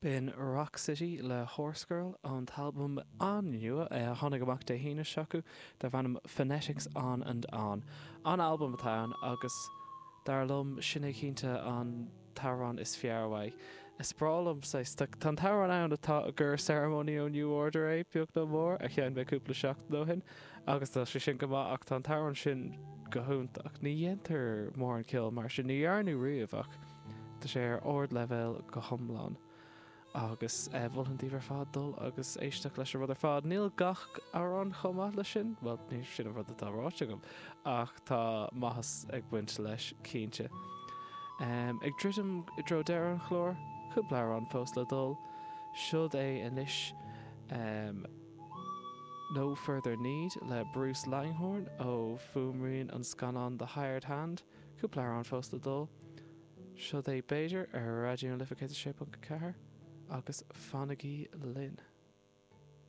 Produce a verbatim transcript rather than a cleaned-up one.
B'in Rock City le Horsegirl ón t-albam an-nua a tháinig amach Dé hAoine seo acu darb ainm Phonetics On and On. An albam atá ann agus dar liom sin é cinnte an t-amhrán is fearr uaidh. Is breá liom tá an t-amhrán ann atá gur Ceremony ó New Order é beag nó mór a sheinn mé cúpla seachtain ó shin agus tá sé sin go maith ach tá an t-amhrán sin go hiontach. Ní dhéantar mórán ceol mar sin ní dhearnadh riamh ach tá sé ar ardleibhéal go hiomlán. agus eh, mholfainn daoibh ar fad dul agus éisteacht leis an rud ar fad. Níl gach amhrán chomh maith leis sin, well ní sin an rud atá ráite agam ach tá maitheas ag baint leis cinnte. Um, ag druidim i dtreo deireadh an chláir, cúpla amhrán fós le dul, Siod é anois um, No Further Need le Bruce Langhorne ó fuaimrian an scannán The Hired Hand, cúpla amhrán fós le dul. Siod é b'fhéidir ar Raidió na Life céad sé ponc ceathair agus fanaigí linn.